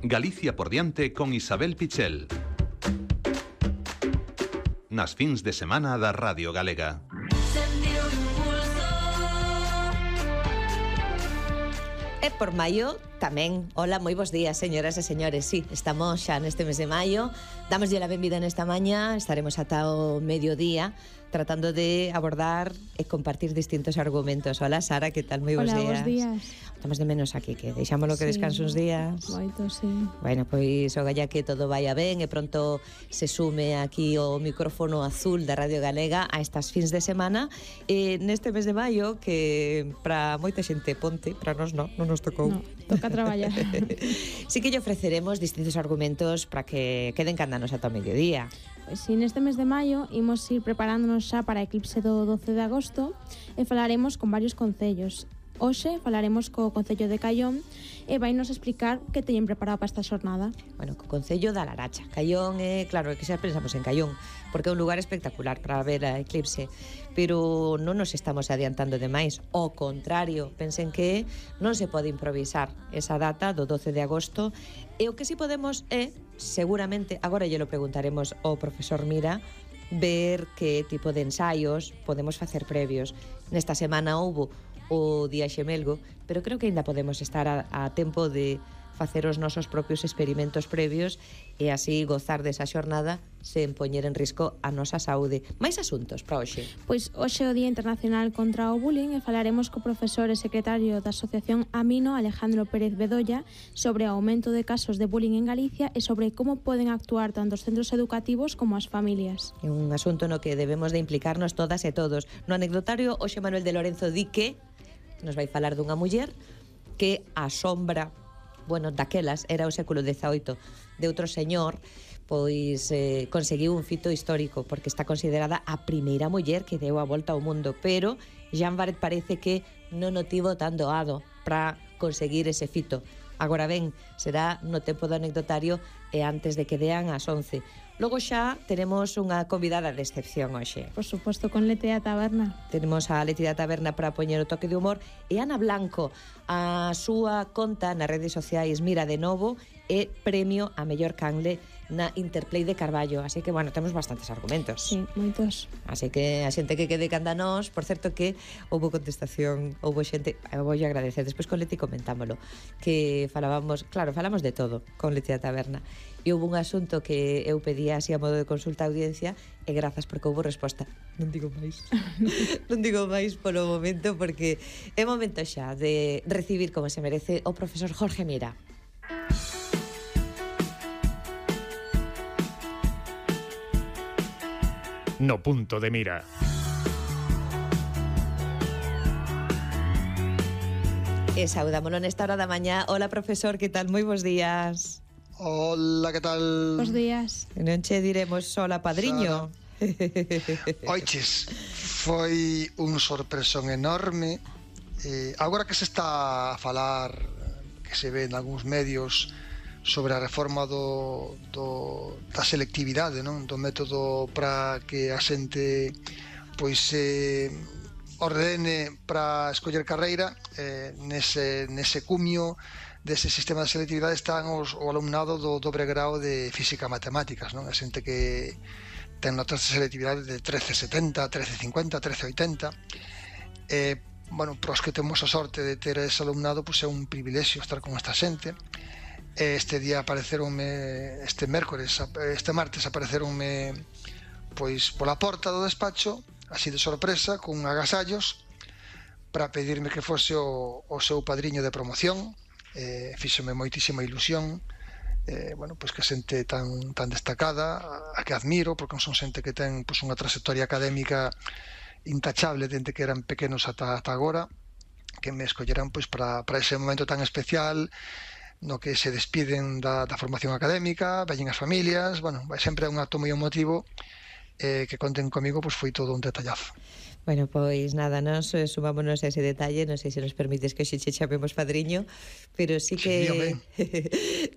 Galicia por diante con Isabel Pichel. Nas fins de semana da Radio Galega. E por maio tamén. Hola, moi bons días, señoras e señores. Sí, estamos xa neste mes de maio. Damoslle a benvida nesta mañá. Estaremos ata o mediodía tratando de abordar e compartir distintos argumentos. Hola, Sara, que tal? Moi bons días. Hola, bons días. Estamos de menos aquí, que deixámoslo que descanse uns días. Moito, sí. Bueno, pois o galla que todo vaya ben e pronto se sume aquí o micrófono azul da Radio Galega a estas fins de semana neste mes de maio que para moita xente ponte, para nós non nos tocou. No, toca traballar. Sí que lle ofreceremos distintos argumentos para que queden candanos ata o mediodía. Pois si, neste mes de maio imos ir preparándonos xa para a eclipse do 12 de agosto e falaremos con varios concellos. Hoxe falaremos co Concello de Caión e vai nos explicar que teñen preparado para esta xornada. Bueno, co Concello da Laracha. Caión claro, que xa pensamos en Caión, porque é un lugar espectacular para ver a eclipse, pero non nos estamos adiantando demais. Ao contrario, pensen que non se pode improvisar esa data do 12 de agosto, e o que si podemos é, seguramente, agora lle lo preguntaremos ao profesor Mira, ver que tipo de ensaios podemos facer previos. Nesta semana houbo o Día Xemelgo, pero creo que ainda podemos estar a tempo de facer os nosos propios experimentos previos e así gozar desa xornada sen poñer en risco a nosa saúde. Mais asuntos para hoxe? Pois hoxe é o Día Internacional contra o Bullying e falaremos co profesor e secretario da Asociación Amino, Alejandro Pérez Bedoya, sobre o aumento de casos de bullying en Galicia e sobre como poden actuar tanto os centros educativos como as familias. É un asunto no que debemos de implicarnos todas e todos. No anecdotario, hoxe Manuel de Lorenzo di que nos vai falar dunha muller que a sombra, bueno, daquelas era o século XVIII, de outro señor, pois conseguiu un fito histórico, porque está considerada a primeira muller que deu a volta ao mundo, pero Jean Baret parece que non o tivo tan doado para conseguir ese fito. Agora ben, será no tempo do anecdotario e antes de que dean as 11. Logo xa teremos unha convidada de excepción hoxe. Por suposto, con Leti da Taberna. Tenemos a Leti da Taberna para poñer o toque de humor e Ana Blanco, a súa conta nas redes sociais Mira de Novo e premio a mellor canle na Interplay de Carballo. Así que, bueno, temos bastantes argumentos. Sí, moitos. Así que a xente que quede canda nós, por certo que houve contestación, houve xente, eu voulle agradecer, despois con Leti comentámoslo, que falamos de todo con Leti da Taberna. E houve un asunto que eu pedía así a modo de consulta a audiencia e grazas porque houve resposta. Non digo máis. Non digo máis polo momento porque é momento xa de recibir como se merece o profesor Jorge Mira. No punto de mira. E saudámolo nesta hora da mañá. Hola, profesor, que tal? Moi bons días. Hola, que tal? Bos días. Non che diremos sola, padriño. Oiches, foi un sorpresón enorme. Agora que se está a falar, que se ve en algúns medios, sobre a reforma da selectividade, non? Do método para que a xente pois ordene para escoller carreira, nese cumio dese sistema de selectividade están o alumnado do dobre grau de física e matemáticas, non? A xente que ten notas de selectividade de 13,70, 13,50, 13,80. Bueno, para os que temos a sorte de ter ese alumnado, pois é un privilexio estar con esta xente. Este día apareceronme, este martes apareceronme pois pola porta do despacho, así de sorpresa, con agasallos para pedirme que fose o seu padriño de promoción. Fíxome moitísima ilusión, bueno, pois que xente tan destacada, a que admiro, porque son xente que ten pois unha trayectoria académica intachable dende que eran pequenos ata agora, que me escolleran pois para ese momento tan especial no que se despiden da formación académica, veñen as familias, bueno, sempre é un acto moi emotivo, que conten comigo, pois foi todo un detallazo. Bueno, pois nada, nos sumámonos a ese detalle, non sei se nos permites que hoxe che chamemos padriño, pero sí que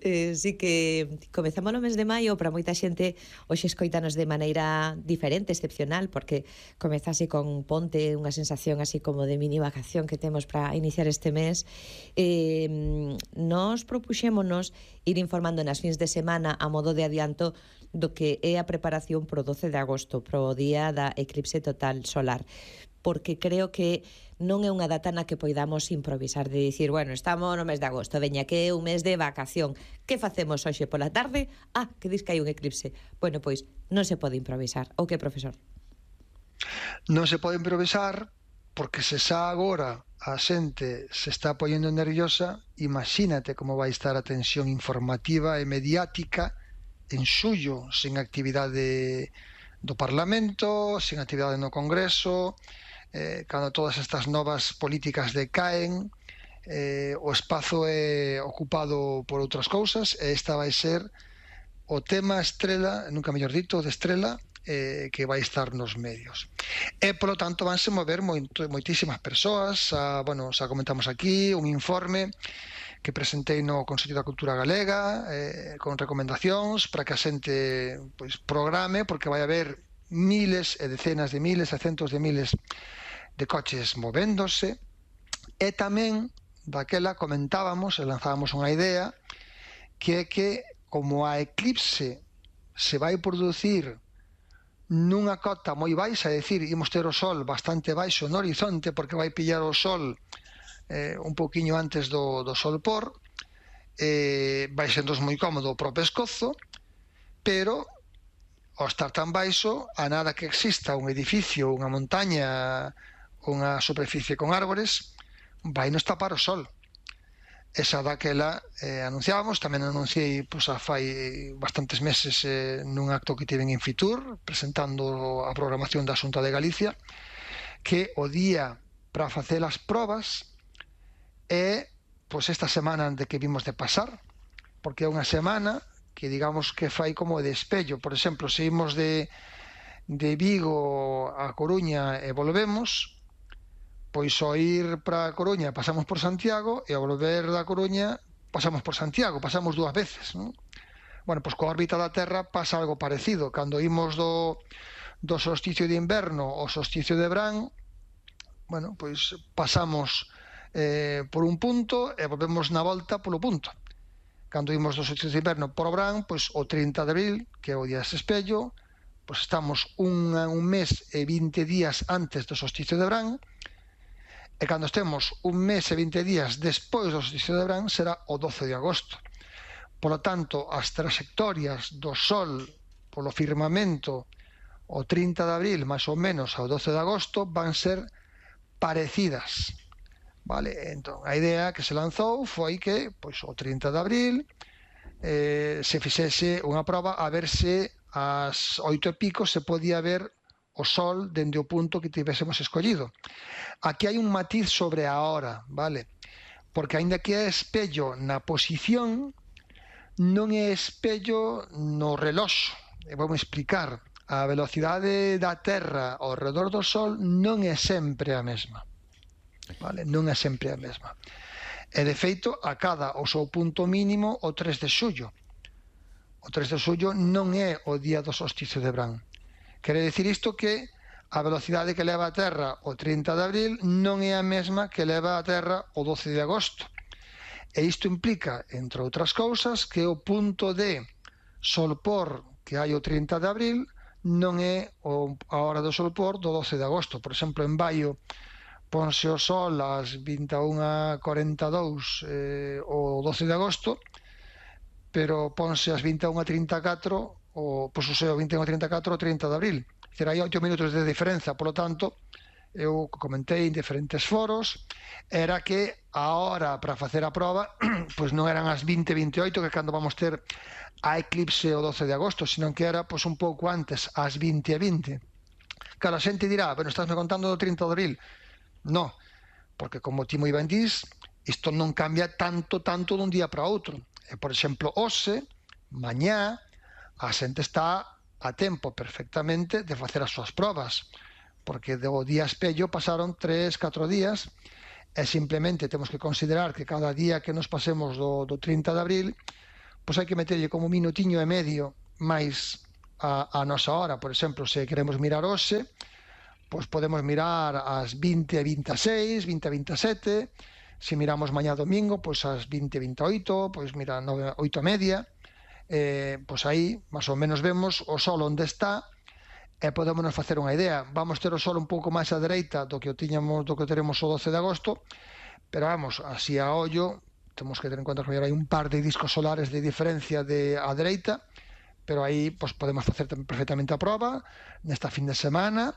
Sí que comezamos no mes de maio, para moita xente hoxe escoitanos de maneira diferente, excepcional, porque comezase con ponte unha sensación así como de mini vacación que temos para iniciar este mes. Nos propuxémonos ir informando nas fins de semana a modo de adianto do que é a preparación pro 12 de agosto, pro día da eclipse total solar, porque creo que non é unha data na que poidamos improvisar de dicir, bueno, estamos no mes de agosto, veña que é un mes de vacación, que facemos hoxe pola tarde? Que dis que hai un eclipse. Bueno, pois non se pode improvisar. O que, profesor? Non se pode improvisar porque se xa agora a xente se está poñendo nerviosa, imagínate como vai estar a tensión informativa e mediática en xullo, sen actividade do Parlamento, sen actividade no Congreso, cando todas estas novas políticas decaen, o espazo é ocupado por outras cousas, e esta vai ser o tema estrela, nunca mellor dito, de estrela, que vai estar nos medios. E, polo tanto, vanse mover moitísimas persoas. Bueno, xa comentamos aquí un informe que presentei no Consello da Cultura Galega, con recomendacións para que a xente programe, porque vai haber miles e decenas de miles e centos de miles de coches movéndose, e tamén daquela comentábamos e lanzábamos unha idea que é que como a eclipse se vai producir nunha cota moi baixa, é dicir, imos ter o sol bastante baixo no horizonte porque vai pillar o sol un pouquiño antes do sol por, vai sendo moi cómodo pro pescozo, pero ao estar tan baixo, a nada que exista un edificio, unha montaña, unha superficie con árbores, vai nos tapar o sol. Esa daquela anunciábamos, tamén anunciei a fai bastantes meses nun acto que tiven en Fitur, presentando a programación da Xunta de Galicia, que o día para facer as probas é esta semana de que vimos de pasar, porque é unha semana que digamos que fai como de espello. Por exemplo, se imos de Vigo a Coruña e volvemos, pois ao ir para a Coruña pasamos por Santiago e ao volver da Coruña pasamos por Santiago, pasamos dúas veces, non? Bueno, pois coa órbita da Terra pasa algo parecido. Cando imos do solsticio de inverno ao solsticio de verán, bueno, pois pasamos por un punto e volvemos na volta polo punto. Cando imos do solsticio de inverno por o verán, pois o 30 de abril, que é o día dese espello, pois estamos un mes e 20 días antes do solsticio de verán, e cando estemos un mes e 20 días despois do solsticio de verán será o 12 de agosto. Por lo tanto, as trayectorias do Sol polo firmamento o 30 de abril, máis ou menos ao 12 de agosto, van ser parecidas. Vale? Entón, a idea que se lanzou foi que o 30 de abril se fixese unha proba a ver se ás 8:00 se podía ver o sol dende o punto que tivésemos escollido. Aquí hai un matiz sobre a hora, vale? Porque aínda que é espello na posición, non é espello no reloxo. E vou explicar. A velocidade da Terra ao redor do Sol non é sempre a mesma. Vale? Non é sempre a mesma. E de feito, acada o seu punto mínimo o 3 de xullo. O 3 de xullo non é o día do solsticio de verán. Quere dicir isto que a velocidade que leva a Terra o 30 de abril non é a mesma que leva a Terra o 12 de agosto. E isto implica, entre outras cousas, que o punto de solpor que hai o 30 de abril non é a hora do solpor do 12 de agosto. Por exemplo, en Baio ponse o sol ás 21:42 o 12 de agosto, pero ponse ás 21:34 o 21:34 o 30 de abril. Hai 8 minutos de diferenza. Por lo tanto, eu comentei en diferentes foros, era que a hora para facer a proba pois non eran as 20:28, que cando vamos ter a eclipse o 12 de agosto, sino que era un pouco antes, ás 20:20. Claro, a xente dirá, bueno, estásme contando do 30 de abril. No, porque como ti moi ben dís, isto non cambia tanto dun día para outro. Por exemplo, hoxe, mañá, a xente está a tempo perfectamente de facer as súas probas, porque do día espello pasaron 3-4 días, e simplemente temos que considerar que cada día que nos pasemos do 30 de abril, pois hai que meterlle como un minutiño e medio máis a nosa hora. Por exemplo, se queremos mirar hoxe, pois podemos mirar ás 20:26, 20:27. Se miramos mañá domingo, pois ás 20:28, pois mira, 8:30. Pois aí, máis ou menos vemos o sol onde está e podemos facer unha idea. Vamos ter o sol un pouco máis á dereita do que o teremos o 12 de agosto, pero vamos, así a ollo, temos que ter en conta que hai un par de discos solares de diferencia á dereita, pero aí pois podemos facer perfectamente a proba nesta fin de semana,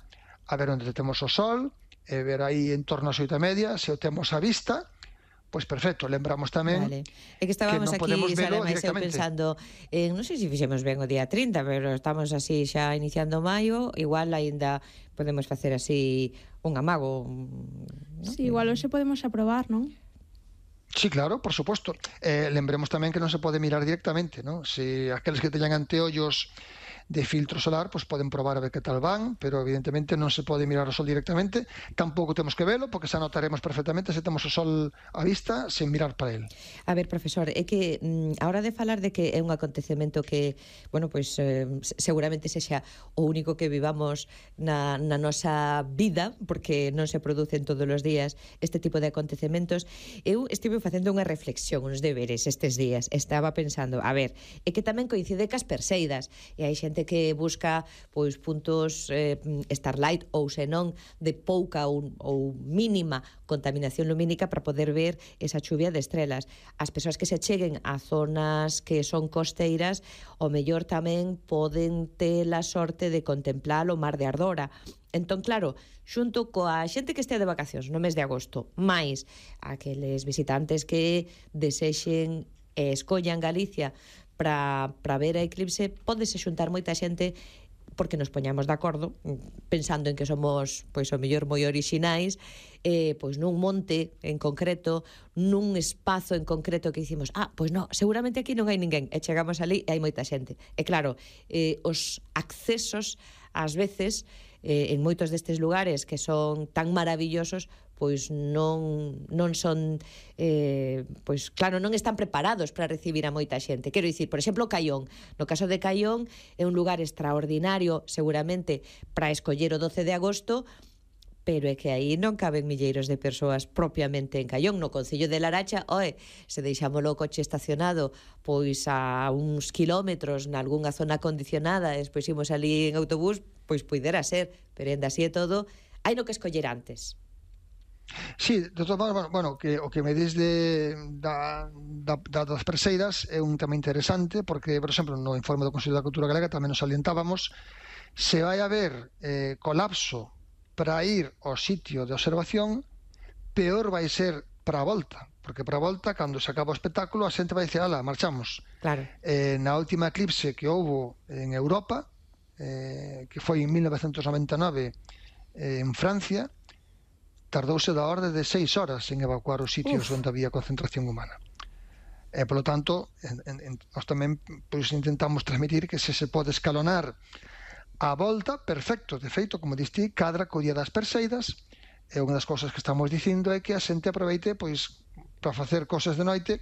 a ver onde temos o sol, e ver aí en torno ás 8:30, se o temos á vista, pois perfecto. Lembramos tamén É que estábamos que non aquí, podemos velo Sara, máis eu directamente. pensando non sei se fixemos ben o día 30, pero estamos así xa iniciando maio, igual aínda podemos facer así un amago, ¿no? Sí, igual hoxe podemos aprobar, non? Sí, claro, por suposto. Lembremos tamén que non se pode mirar directamente, ¿no? Se aqueles que teñan anteollos de filtro solar, pois poden probar a ver que tal van, pero evidentemente non se pode mirar o sol directamente, tampouco temos que velo, porque xa notaremos perfectamente se temos o sol á vista sen mirar para el. A ver, profesor, é que a hora de falar de que é un acontecemento que, bueno, pois seguramente sexa o único que vivamos na nosa vida, porque non se producen todos os días este tipo de acontecementos. Eu estive facendo unha reflexión, uns deberes estes días. Estaba pensando, a ver, é que tamén coincide cas Perseidas, e hai xente que busca pois puntos starlight ou senón de pouca ou mínima contaminación lumínica para poder ver esa chuvia de estrelas. As persoas que se cheguen a zonas que son costeiras, o mellor tamén poden ter a sorte de contemplar o mar de Ardora. Entón, claro, xunto coa xente que estea de vacacións no mes de agosto, máis aqueles visitantes que desexen e escollan Galicia para ver a eclipse, pódese xuntar moita xente porque nos poñamos de acordo, pensando en que somos, pois, o mellor moi orixinais, pois nun monte en concreto, nun espazo en concreto que dicimos, pois non, seguramente aquí non hai ninguén, e chegamos ali e hai moita xente. E claro, os accesos, ás veces, en moitos destes lugares que son tan maravillosos, pois non son pois claro, non están preparados para recibir a moita xente. Quero dicir, por exemplo, Caión. No caso de Caión é un lugar extraordinario, seguramente, para escoller o 12 de agosto, pero é que aí non caben milleiros de persoas propiamente en Caión. No concello de Laracha, se deixámolo o coche estacionado pois a uns kilómetros nalgúnha zona acondicionada, despois imos ali en autobús, pois poidera ser, pero ainda así é todo, hai no que escoller antes. Sí, de todas maneras, bueno, o que me dis das Perseidas é un tema interesante, porque, por exemplo, no informe do Consello da Cultura Galega tamén nos salientábamos, se vai haber colapso para ir ao sitio de observación, peor vai ser para a volta, porque para a volta, cando se acaba o espectáculo, a xente vai dizer, ala, marchamos. Claro. Na última eclipse que houbo en Europa, que foi en 1999 en Francia, tardouse da orde de 6 horas en evacuar os sitios onde había concentración humana. Polo tanto, nós tamén pois, intentamos transmitir que se pode escalonar a volta, perfecto. De feito, como diste, cadra co día das Perseidas, e unha das cousas que estamos dicindo é que a xente aproveite pois para facer cosas de noite,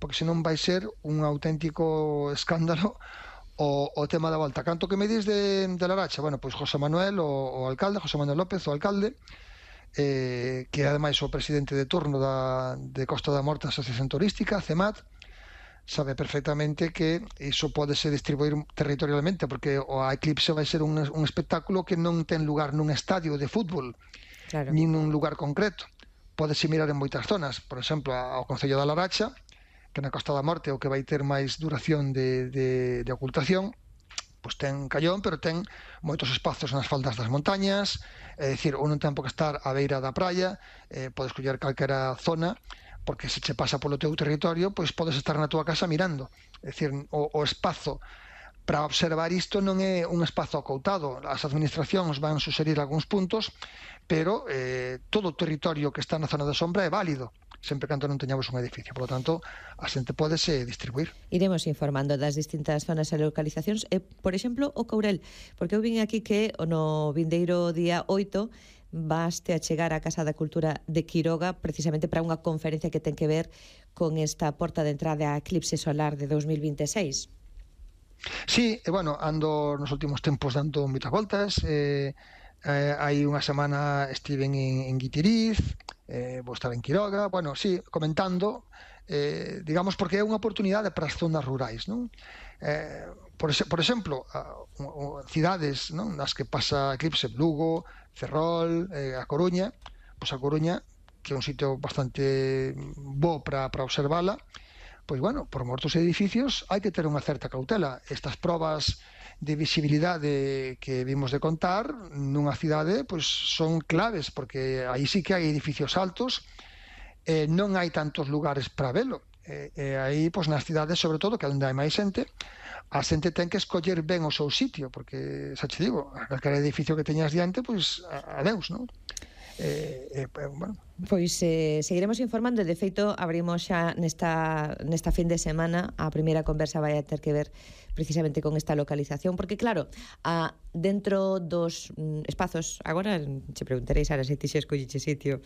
porque senón vai ser un auténtico escándalo o tema da volta. Canto que me dis de Laracha, bueno, pois José Manuel, o alcalde, José Manuel López, o alcalde, que é ademais o presidente de turno de Costa da Morte, Asociación Turística, CEMAT, sabe perfectamente que iso podese distribuir territorialmente, porque a eclipse vai ser un espectáculo que non ten lugar nun estadio de fútbol, claro, nin nun lugar concreto. Podese mirar en moitas zonas, por exemplo, ao Concello da Laracha, que na Costa da Morte o que vai ter máis duración de ocultación, pois ten Caión, pero ten moitos espazos nas faldas das montañas, é dicir, ou non ten por que estar á beira da praia, podes coller calquera zona, porque se che pasa polo teu territorio, pois podes estar na túa casa mirando. É dicir, o espazo para observar isto non é un espazo acoutado. As administracións van suxerir algúns puntos, pero todo o territorio que está na zona de sombra é válido, sempre canto non teñamos un edificio. Por lo tanto, a xente podese distribuir. Iremos informando das distintas zonas e localizacións. Por exemplo, o Courel, porque eu vin aquí que no vindeiro día 8 vaste a chegar á Casa da Cultura de Quiroga precisamente para unha conferencia que ten que ver con esta porta de entrada a eclipse solar de 2026. Sí, bueno, ando nos últimos tempos dando moitas voltas. Hai unha semana estive en Guitiriz, vou estar en Quiroga, bueno, sí, comentando, digamos, porque é unha oportunidade para as zonas rurais, non? Por exemplo, cidades, non, nas que pasa eclipse, Lugo, Ferrol, a Coruña, pois a Coruña, que é un sitio bastante bo para observala, pois, bueno, por mor dos edificios hai que ter unha certa cautela. Estas probas de visibilidade que vimos de contar nunha cidade, pois son claves, porque aí sí que hai edificios altos, non hai tantos lugares para velo. Aí, pois, nas cidades, sobre todo, que é onde hai máis xente, a xente ten que escoller ben o seu sitio, porque, xa che digo, calquer edificio que teñas diante, pois, adeus, non? Bueno. Pois seguiremos informando. De feito, abrimos xa nesta fin de semana. A primeira conversa vai a ter que ver precisamente con esta localización, porque claro, dentro dos espazos, agora che preguntaréis Sara se ti xa escolliche sitio,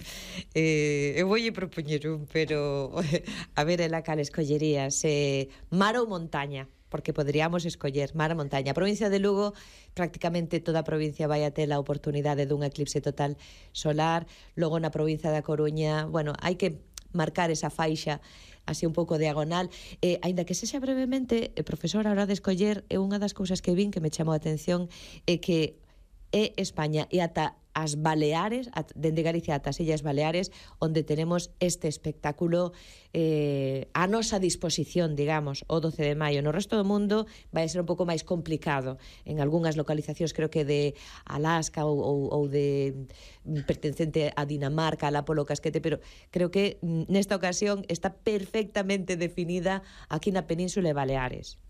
eu voulle propoñer pero a ver ela cal escollerías, mar ou montaña, porque poderíamos escoller mar ou montaña. A provincia de Lugo, prácticamente toda a provincia vai a ter a oportunidade dun eclipse total solar. Logo na provincia da Coruña, bueno, hai que marcar esa faixa así un pouco diagonal, aínda que sexa brevemente, profesor, a hora de escoller, é unha das cousas que vin que me chamou a atención é que é España e ata as Baleares, dende Galicia ata as Illas Baleares, onde tenemos este espectáculo a nosa disposición, digamos, o 12 de maio. No resto do mundo vai ser un pouco máis complicado. En algunhas localizacións, creo que de Alaska ou de pertencente a Dinamarca, a Polo Casquete, pero creo que nesta ocasión está perfectamente definida aquí na Península de Baleares.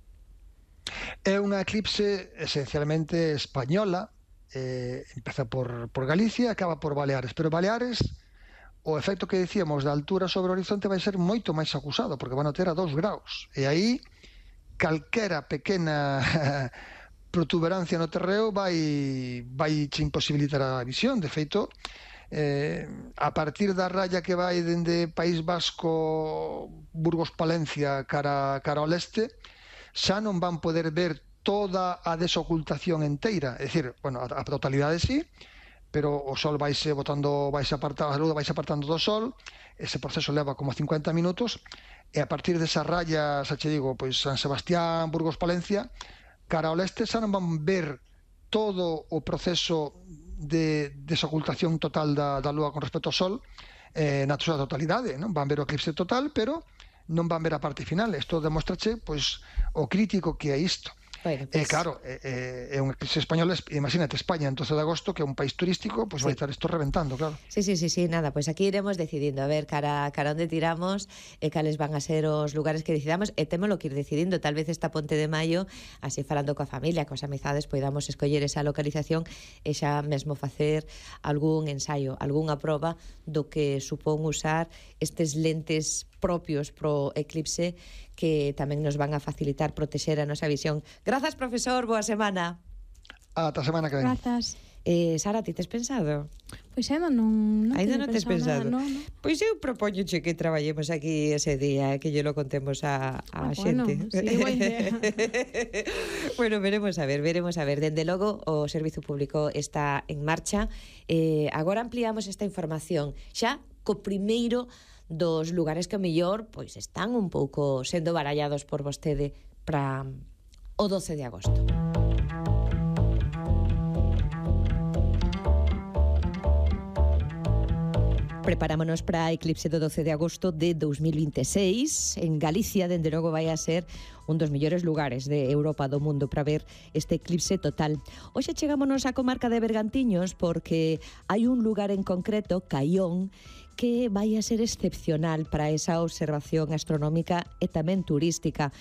É unha eclipse esencialmente española. Empeza por Galicia, acaba por Baleares, pero Baleares, o efecto que decíamos da altura sobre o horizonte vai ser moito máis acusado, porque van a ter a 2 graus, e aí calquera pequena protuberancia no terreo vai che imposibilitar a visión. De feito, a partir da raya que vai dende País Vasco, Burgos, Palencia cara ao leste, xa non van poder ver toda a desocultación enteira, é dicir, bueno, a totalidade sí, pero o sol vaise botando, a luz vaise apartando do sol, ese proceso leva como 50 minutos, e a partir desa raya, xa che digo, pois San Sebastián, Burgos, Palencia, cara ao leste, xa non van ver todo o proceso de desocultación total da lúa con respecto ao sol na súa totalidade, non? Van ver o eclipse total, pero non van ver a parte final. Isto demostrache, pois, o crítico que é isto. Bueno, pues... claro, é un eclipse español, imagínate, España en 12 de agosto, que é un país turístico, pues vai estar isto reventando, claro. Sí, nada, pues aquí iremos decidindo a ver cara onde tiramos e cales van a ser os lugares que decidamos, e témolo que ir decidindo. Tal vez esta Ponte de Maio, así falando coa familia, coas amizades, podamos escoller esa localización e xa mesmo facer algún ensaio, algunha proba do que supón usar estes lentes propios pro eclipse que tamén nos van a facilitar protexer a nosa visión. Grazas, profesor, boa semana. Ata a semana que ven. Grazas. Sara, ti tes pensado? Pois non Ainda non tes pensado? No. Pois eu propóñoche que traballemos aquí ese día, que lle lo contemos a xente. Bueno, sí, boa idea. Bueno, veremos a ver. Dende logo, o Servizo Público está en marcha. Agora ampliamos esta información xa co primeiro dos lugares que o mellor pois están un pouco sendo barallados por vostede para o 12 de agosto. Preparámonos para a eclipse do 12 de agosto de 2026. En Galicia, dende logo, vai a ser un dos mellores lugares de Europa, do mundo, para ver este eclipse total. Hoxe chegámonos á comarca de Bergantiños porque hai un lugar en concreto, Caión, que vai a ser excepcional para esa observación astronómica e tamén turística.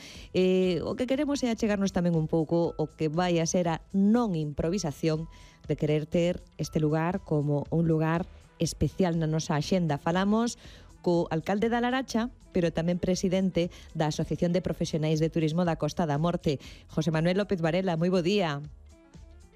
O que queremos é achegarnos tamén un pouco o que vai a ser a non improvisación de querer ter este lugar como un lugar especial na nosa axenda. Falamos co alcalde da Laracha, pero tamén presidente da Asociación de Profesionais de Turismo da Costa da Morte, José Manuel López Varela. Moi bo día.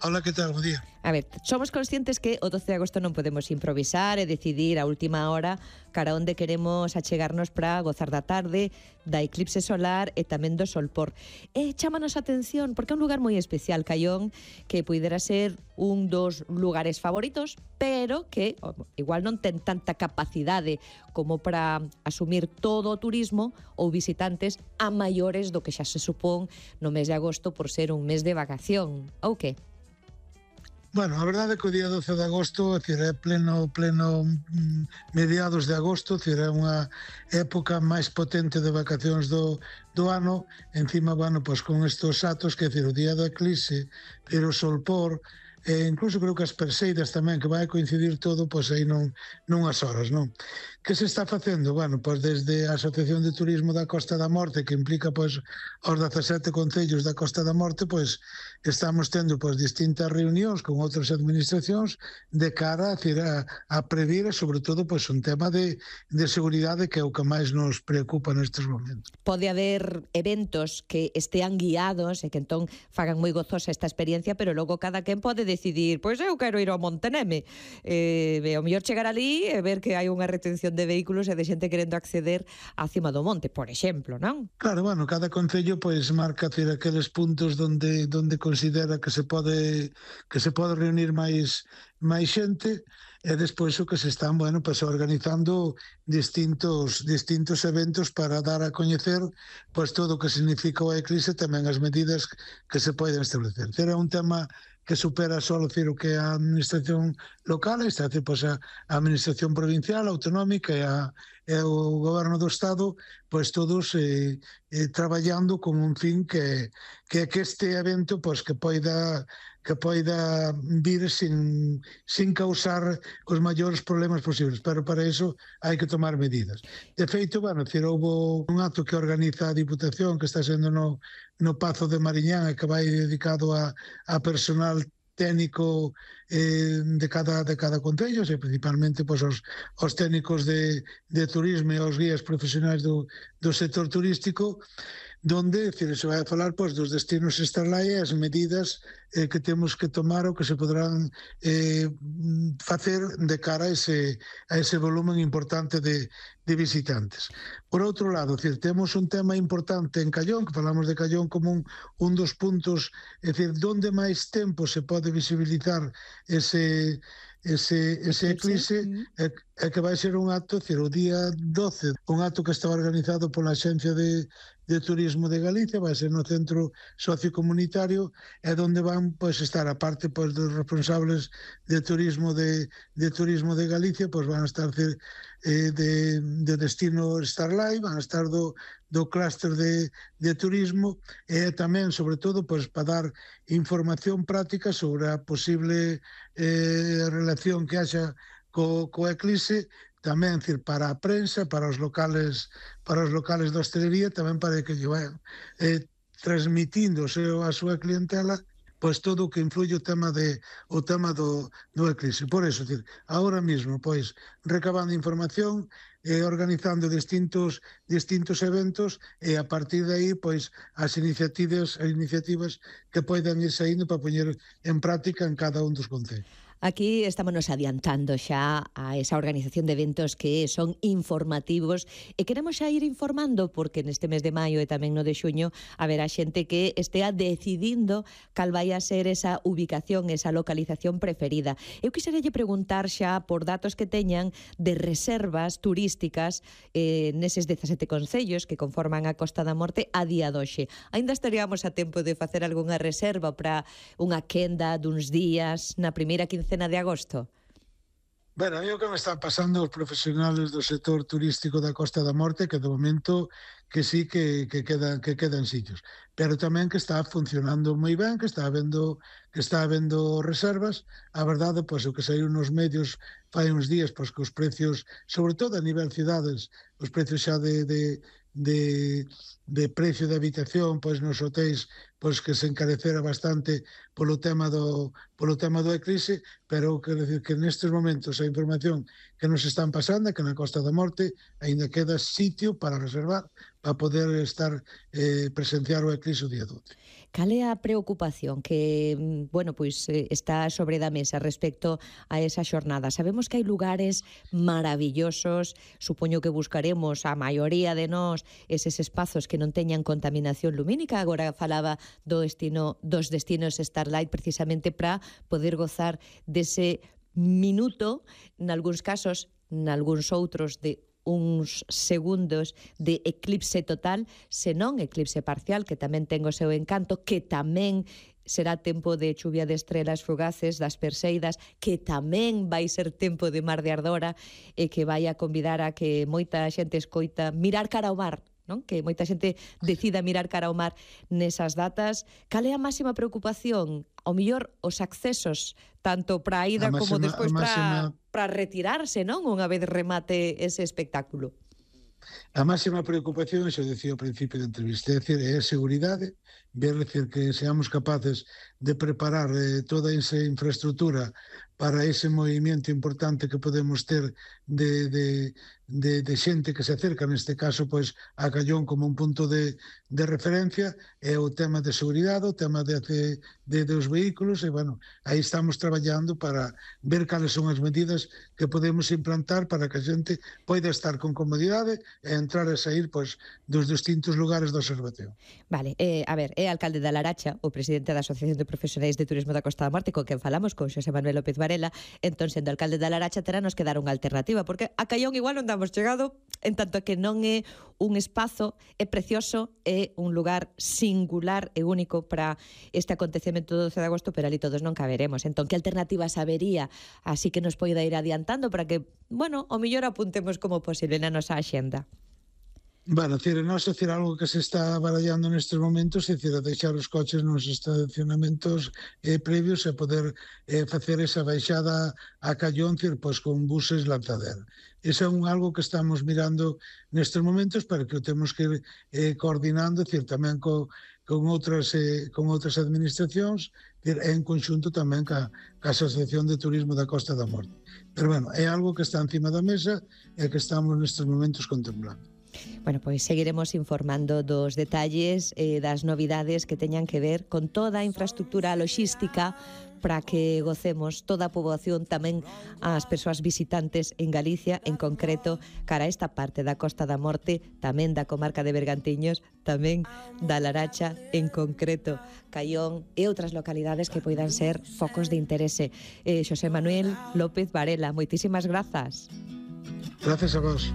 Hola, que tal? Bo día. A ver, somos conscientes que o 12 de agosto non podemos improvisar e decidir a última hora cara onde queremos achegarnos para gozar da tarde, da eclipse solar e tamén do solpor. E chámanos a atención porque é un lugar moi especial, Caión, que puidera ser un dos lugares favoritos, pero que igual non ten tanta capacidade como para asumir todo o turismo ou visitantes a maiores do que xa se supón no mes de agosto por ser un mes de vacación, ou que? Bueno, a verdade é que o día 12 de agosto, é pleno mediados de agosto, é unha época máis potente de vacacións do ano, encima, bueno, pois con estes atos, que o día do eclipse, o solpor, e incluso creo que as perseidas tamén, que vai coincidir todo, pois aí nunhas horas, non? Que se está facendo? Bueno, pois desde a Asociación de Turismo da Costa da Morte, que implica pois os 17 concellos da Costa da Morte, pois estamos tendo pois distintas reunións con outras administracións de cara a previr, e sobre todo pois un tema de seguridade, que é o que máis nos preocupa nestes momentos. Pode haber eventos que estean guiados e que entón fagan moi gozosa esta experiencia, pero logo cada quen pode decidir, pois eu quero ir ao Monteneme, o mellor chegar ali e ver que hai unha retención de vehículos e de xente querendo acceder á cima do monte, por exemplo, non? Claro, bueno, cada concello pois marca aqueles puntos donde considera que se pode reunir máis xente, e despois o que se están, bueno, pois organizando distintos eventos para dar a coñecer pois todo o que significa o eclipse, tamén as medidas que se poden establecer. É un tema que supera só o que é a administración local, está a pois a administración provincial, autonómica e o goberno do Estado, pois todos traballando con un fin que este evento pois que poida vir sin causar os maiores problemas posibles, pero para iso hai que tomar medidas. De feito, bueno, houve un acto que organiza a Diputación, que está sendo no Pazo de Mariñán, e que vai dedicado a personal técnico de cada concello, e principalmente pois, os técnicos de turismo e os guías profesionais do sector turístico, donde se vai a falar pois, dos destinos Starlight e as medidas que temos que tomar ou que se poderán facer de cara a ese volumen importante de visitantes. Por outro lado, temos un tema importante en Caión, que falamos de Caión como un dos puntos, donde máis tempo se pode visibilizar ese eclipse, é que vai ser un acto, o día 12, un acto que está organizado pola Axencia de Turismo de Galicia, vai ser no Centro Sociocomunitario, é onde van pois estar, a parte pois dos responsables de turismo de Galicia, pois van a estar de destino Starlight, van a estar do clúster de turismo, e tamén, sobre todo, pois para dar información práctica sobre a posible relación que haxa co eclipse, tamén para a prensa, para os locales da hostelería, tamén para que lle vayan transmitindo a súa clientela pois todo o que influye o tema do eclipse. Por eso, agora mesmo, pois, recabando información, organizando distintos eventos, e a partir de aí, pois, as iniciativas que poidan ir saindo para poñer en práctica en cada un dos concellos. Aquí estamos adiantando xa a esa organización de eventos que son informativos e queremos xa ir informando porque neste mes de maio e tamén no de xuño haberá xente que estea decidindo cal vai a ser esa ubicación, esa localización preferida. Eu quixeralle preguntar xa por datos que teñan de reservas turísticas neses 17 concellos que conforman a Costa da Morte a día doxe. Ainda estaríamos a tempo de facer algunha reserva para unha quenda duns días na primeira quincena de agosto? Ben, a mí o que me están pasando os profesionales do sector turístico da Costa da Morte, que de momento que sí que quedan sitios, pero tamén que está funcionando moi ben, que está habendo reservas. A verdade, pois o que saiu nos medios fai uns días, pois que os precios, sobre todo a nivel cidades, os precios xa de precio de habitación, pois nos hotéis pois que se encarecera bastante polo tema do eclipse, pero quero dicir que nestes momentos a información que nos están pasando é que na Costa da Morte aínda queda sitio para reservar para poder estar presenciar o eclipse o día 12. Cal é a preocupación que, bueno, pois está sobre da mesa respecto a esa xornada? Sabemos que hai lugares maravillosos, supoño que buscaremos a maioría de nós eses espazos que non teñan contaminación lumínica. Agora falaba dos destinos Starlight precisamente para poder gozar dese minuto, nalgúns casos, nalgúns outros de uns segundos de eclipse total, senón eclipse parcial, que tamén ten o seu encanto, que tamén será tempo de chuvia de estrelas fugaces, das Perseidas, que tamén vai ser tempo de mar de ardora e que vai a convidar a que moita xente escoita mirar cara ao mar, non? Que moita xente decida mirar cara ao mar nesas datas. Cal é a máxima preocupación? Ao mellor os accesos, tanto para a ida como despois para retirarse, non? Unha vez remate ese espectáculo. A máxima preocupación, xo dicía ao principio da entrevista, é a seguridade, ver que seamos capaces de preparar toda esa infraestructura para ese movimento importante que podemos ter de xente que se acerca, neste caso, pois, a Callón como un punto de referencia, é o tema de seguridade, o tema dos vehículos, e, bueno, aí estamos traballando para ver cales son as medidas que podemos implantar para que a xente poida estar con comodidade e entrar e sair, pois, dos distintos lugares do observatorio. Vale, a ver, é alcalde da Laracha, o presidente da Asociación de Profesionais de Turismo da Costa da Morte, con quen falamos, con Xosé Manuel López Varela. Entón, sendo alcalde da Laracha, terá nos que dar unha alternativa, porque a Callón igual non damos chegado, en tanto que non é un espazo, é precioso, é un lugar singular e único para este acontecemento do 12 de agosto, pero ali todos non caberemos. Entón, que alternativas habería? Así que nos poida ir adiantando para que, bueno, o mellor apuntemos como posible na nosa axenda. Bueno, algo que se está barallando nestes momentos, é deixar os coches nos estacionamentos previos e poder facer esa baixada a Callón, pois con buses lanzadera. Iso é algo que estamos mirando nestes momentos, pero que o temos que ir coordinando, tamén con outras administracións, en conxunto tamén ca Asociación de Turismo da Costa da Morte. Pero, bueno, é algo que está encima da mesa e que estamos nestes momentos contemplando. Bueno, pois seguiremos informando dos detalles e das novidades que teñan que ver con toda a infraestructura logística para que gocemos toda a poboación, tamén as persoas visitantes en Galicia, en concreto, cara a esta parte da Costa da Morte, tamén da comarca de Bergantiños, tamén da Laracha, en concreto, Callón e outras localidades que poidan ser focos de interese. Xosé Manuel López Varela, moitísimas grazas. Gracias a vos.